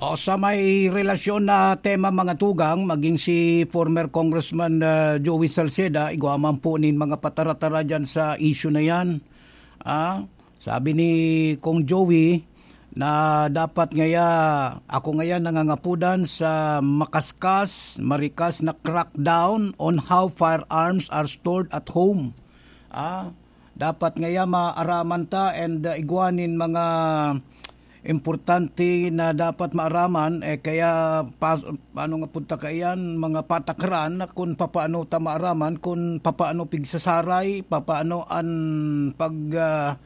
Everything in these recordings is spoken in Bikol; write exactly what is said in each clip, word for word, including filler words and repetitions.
O sa may relasyon na tema, mga tugang, maging si former Congressman, ah, Joey Salceda, igwa man po nin mga patara-tara dyan sa issue na yan. Ah, sabi ni Kong Joey na dapat ngaya, ako ngaya nangangapudan sa makaskas, marikas na crackdown on how firearms are stored at home. Ah, dapat ngaya maaraman ta and, uh, igwa nin mga importante na dapat maaraman, eh, kaya pa-, paano nga punta kaiyan, mga patakaran na kung papaano ta maaraman, kung papaano pigsasaray, papaano an pag, ah,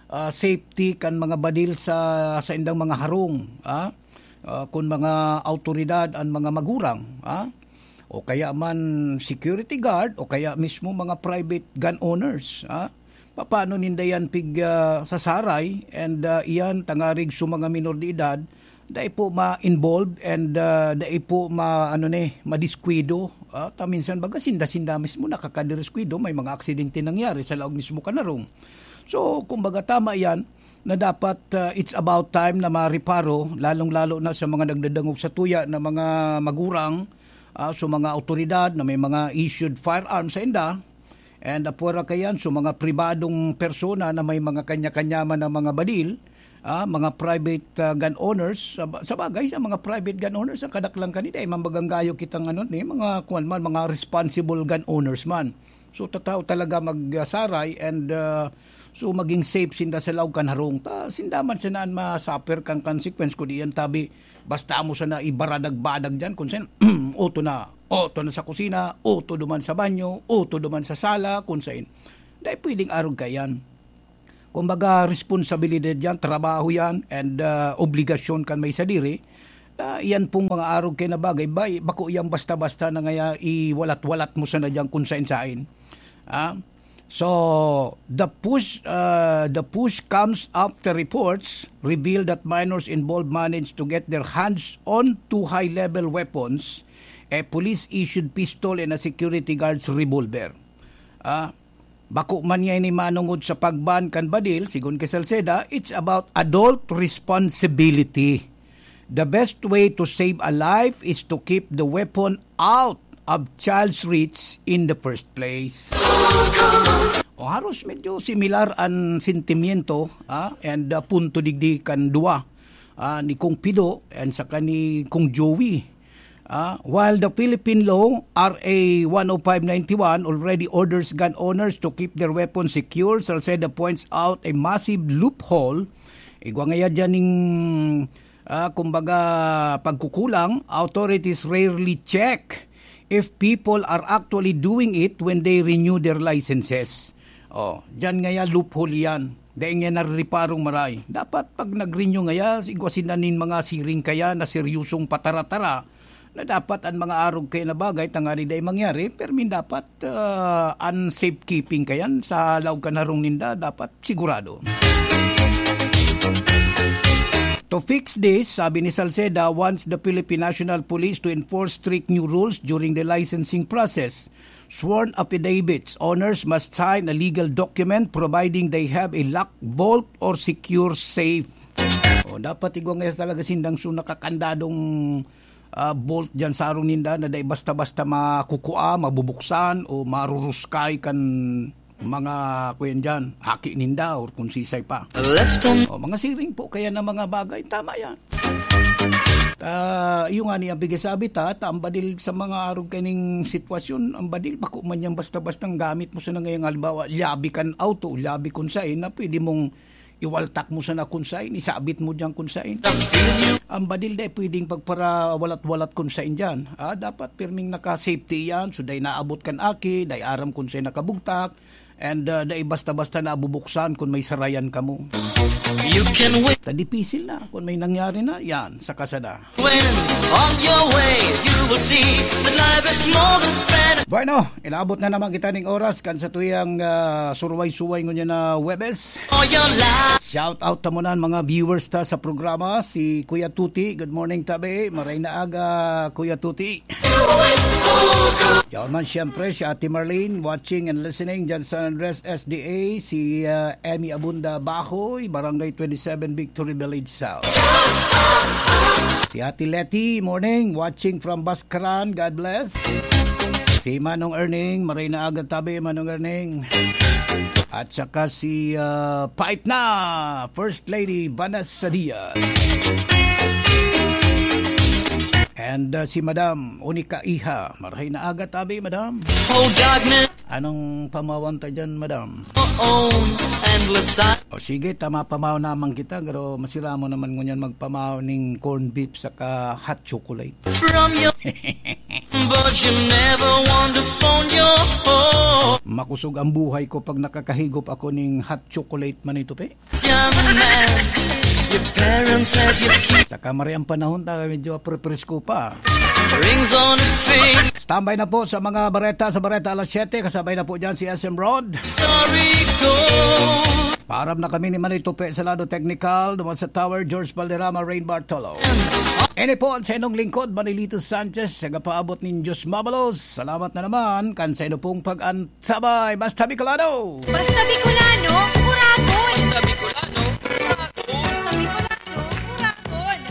ah, safety kan mga badil sa, sa indang mga harong, ah? Ah, kun mga awtoridad an mga magurang, ah? O kaya man security guard, o kaya mismo mga private gun owners, ah? Papaano ninda yan pig, ah, sasaray and, ah, iyan tangarig sa mga minor de edad, dai po ma-involve and, ah, dai po ma-, ano ni, madiskwido. Ah, ta minsan baga sinda-sinda mismo nakakadiriskwado, may mga aksidente nangyari sa laog mismo kan harong. So, kumbaga tama yan na dapat, ah, it's about time na mareparo, lalong-lalo na sa mga nagdadangog sa tuya na mga magurang, ah, sa mga awtoridad na may mga issued firearms sa inda. And apwera kayan, so mga pribadong persona na may mga kanya-kanya man na mga badil, ah, mga private, ah, gun owners, sa, sa bagay, sa mga private gun owners, ang kadaklan kanila, eh, mambaganggayo kitang ano, ni mga, kuwan man, mga responsible gun owners man. So, tataw talaga magsaray and, ah, so maging safe sinda sa laog kan harong. Ta, sinda man sana an ma-suffer kan consequence, kung di yan tabi, basta mo sana ibaradag-badag dyan, kung saan, uto na, uto na sa kusina, uto duman sa banyo, uto duman sa sala, kung saan. Dai pwedeng arog kayan. Kumbaga, responsibilidad yan, trabaho yan, and, ah, obligasyon kan may sadiri. Na iyan pong mga arog kay na bagay, bay, bako yan basta-basta na ngaya iwalat-walat mo sana dyan kung sain-sain. Ah? So, the push, ah, the push comes after reports reveal that minors involved managed to get their hands on two high-level weapons, a police-issued pistol and a security guard's revolver. Ah, bako man niya ini manongod sa pagban kan badil, sigon kay Salceda, it's about adult responsibility. The best way to save a life is to keep the weapon out of child's reach in the first place. O haros medyo similar an sentimiento, ah, and, ah, punto digdi kan duwa, ah, ni Kong Pido and saka ni Kong Joey. Ah, while the Philippine law, R A one oh five ninety-one, already orders gun owners to keep their weapons secure, Salceda points out a massive loophole. Igwa ngaya dyan ning, ah, kumbaga, pagkukulang, authorities rarely check if people are actually doing it when they renew their licenses. Oh, dyan ngaya loophole yan. Dai nga narireparong maray. Dapat pag nag-renew ngaya, igwa sinda nin mga siring kaya na seryosong patara-tara na dapat an mga arog kaya na bagay tangani dai mangyari, permin dapat, ah, an safekeeping kayan sa laog kan harong ninda dapat sigurado. To fix this, sabi ni Salceda, wants the Philippine National Police to enforce strict new rules during the licensing process. Sworn affidavits, owners must sign a legal document providing they have a locked vault or secure safe. O, dapat igwa nga talaga sindang so nakakandadong, ah, vault dyan sa arong ninda na dai basta-basta makukua, mabubuksan o maruruskay kan mga, kuyan dyan, haki ninda or kung sisay pa. Left on O, mga siring po kaya na mga bagay. Tama yan. Ah, iyo nga ni ang pigasabi ta, ta ang badil sa mga arog kaning sitwasyon, ang badil bako man yan basta-bastang gamit mo sa nangayang halimbawa, liyabi kan auto, liyabi kun sain na pwede mong iwaltak mo sana kun sain, isabit mo diyan kun sain. Ang badil dai pwedeng pagparawalat-walat kun sain diyan. Ah, dapat pirming naka-safety yan, so dai naabot kan aki, dai aram kun sain nakabugtak, and, ah, dai basta-basta nabubuksan kun may sarayan kamo. You can win. Ta dipisil na kun may nangyari na, yan, saka sana. When on your way, you will see that life is more than fantasy. Bueno, inabot na naman kita ning oras kan sa tuyang, ah, surway-suway ngunyan na Webes. For your life. Shout out ta muna ang mga viewers ta sa programa, si Kuya Tuti. Good morning, tabi. Maray na aga, Kuya Tuti. Yaw man, siyempre, si Ate Marlene, watching and listening dyan sa San Andres S D A, si, ah, Emmy Abunda Bahoy, Barangay twenty-seven, Victory Village South. Si Ate Letty, morning, watching from Bascaran. God bless. Si Manong Erning, maray na aga tabi, Manong Erning. At saka si, ah, Pait na, First Lady Vanessa Diaz. And, ah, si Madam Unica Iha, maray na aga tabi, Madam. Oh, darkness. Anong pamawan ta dyan, Madam? Own endless. O sige, tama, pamaw naman kita, pero masira mo naman ngunyan magpamaw ning corned beef saka hot chocolate. From your but you never want to phone your home. Makusog ang buhay ko pag nakakahigop ako ning hot chocolate, Manito Pe. Your parents said you keep. Saka mari ang panahon ta, medyo prepresko pa. Rings on a finger. Standby na po sa mga bareta sa Bareta alas siyete. Kasabay na po dyan si S M Rod. Story goes. Paaram na kami ni Manito Pe sa lado technical, duman sa Tower, George Valderrama, Rain Bartolo. Ini po ang sa inyong lingkod, Manilito Sanchez, sa kapaabot nin Diyos mabalos. Salamat na naman kan sa inyo pong pag-antabay. Basta Bicolano! Basta Bicolano, Kurakon! Basta Bicolano, Kurakon! Basta Bicolano, Kurakon!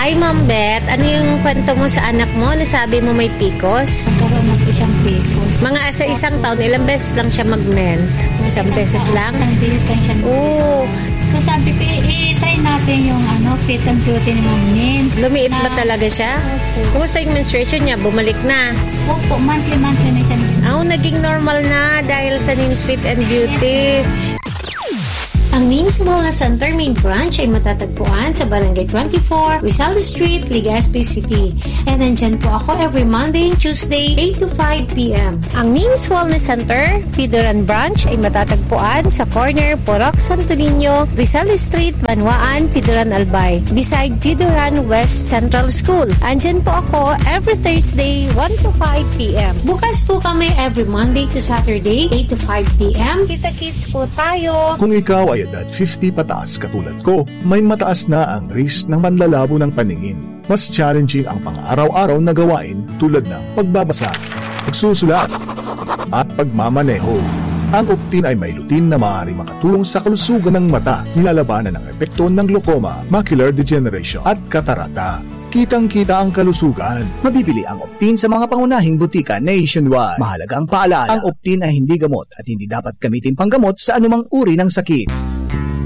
Hi, Ma'am Beth. Ano yung kwento mo sa anak mo? Nasabi mo may picos? Nagkaroon na po siyang picos. Mga sa isang taon, ilang beses lang siya mag-mens? Isang beses lang? Isang beses lang siya. Oo. So sabi ko, i-try natin yung ano, fit and beauty ni Ma'am Nins. Lumiit ba talaga siya? Kumusta yung menstruation niya? Bumalik na? Opo, monthly-monthly na siya. Oh, naging normal na dahil sa Nins Fit and Beauty. Ang Nins Wellness Center main branch ay matatagpuan sa Barangay twenty-four, Rizal Street, Legazpi City. And nandyan po ako every Monday and Tuesday, eight to five p.m. Ang Nins Wellness Center, Pidoran Branch ay matatagpuan sa corner Purok Santo Niño, Rizal Street, Banwaan, Pidoran Albay, beside Pidoran West Central School. Andyan po ako every Thursday, one to five p.m. Bukas po kami every Monday to Saturday, eight to five p.m. Kita-kits po tayo! Kung ikaw ay edad fifty pataas katulad ko, may mataas na ang risk ng panlalabo ng paningin. Mas challenging ang pang-araw-araw na gawain tulad ng pagbabasa, pagsusulat, at pagmamaneho. Ang Optin ay may lutein na maaaring makatulong sa kalusugan ng mata, nilalabanan ang epekto ng glaucoma, macular degeneration, at katarata. Kitang-kita ang kalusugan. Mabibili ang Optin sa mga pangunahing butika nationwide. Mahalagang paalala, ang Optin ay hindi gamot at hindi dapat gamitin panggamot sa anumang uri ng sakit.